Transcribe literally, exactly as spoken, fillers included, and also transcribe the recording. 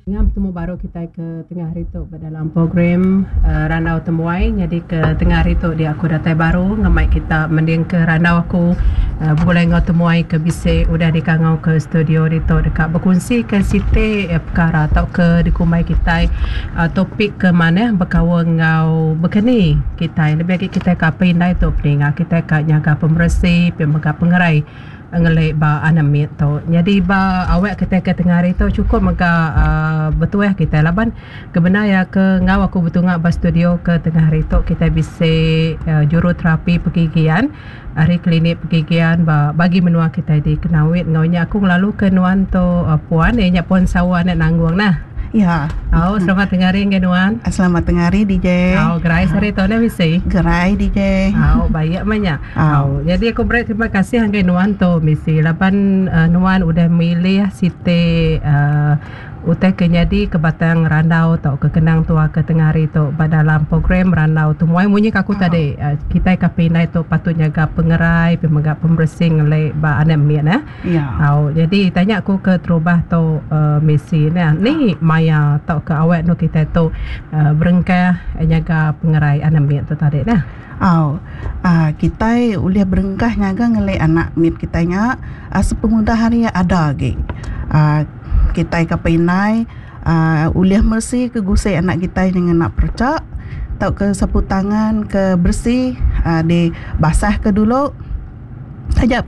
Ngam betemu baru kitai ke tengah hari tu ba dalam program uh, Randau Temuai. Nyadi ke tengah hari tu dia aku datai baru ngemai kita mendingka randau aku uh, begulai enggau temuai ke bisi udah dikangau ke studio ditu deka bekunsi ke siti uh, perkara tauka dikumbai kitai uh, topik ke manah bekaul enggau bekeni kitai lebih agi kitai ke apai indai tu peninga kitai ka nyaga pemeresi pia mega pengerai ngeli ba anak mit tu. Nyadi ba awak kitai ke tengah hari tu chukup mega uh, betuah kitai laban ke bendar iya ke enggau aku betunga ba studio ke tengah hari tu kitai bisi uh, juruterapi pergigian ari klinik pergigian ba bagi menua kitai di Kenawit. Enggau nya aku ngelalu ke nuan tu uh, puan iya nya Puan Sawa anak Nanggung nah. Ya. Oh, selamat tengah hari dengan nuan. Selamat tengah hari D J. Oh, gerai sehari tu ne misi. Gerai D J. Oh, baik mah. Oh. Oh, jadi aku beri terima kasih ngagai nuan tu misi laban uh, nuan udah milih siti uh, utai ke nyadi ke batang randau atau ke kenang tua ke tengah hari tu ba dalam program Randau Temuai. Munyi ke aku Oh. tadi, uh, kitai ke indai tu patut nyaga pengerai pemega pembersih ngeli ba anak mit eh. Ya. Oh, jadi tanya aku ke terubah tu uh, misi ni ni maya atau ke awak nu kita tu uh, berengkah nyaga pengerai anak mit tu tadi nah. Oh. Ah, kita ulih berengkah nyaga ngeli anak mit kita nya ah, sepengudah hari ada lagi. Ah, kita ke indai ah, ulih mersi ke gusi anak kita dengan nak percak atau ke sapu tangan ke bersih ah, di basah ke dulu saja.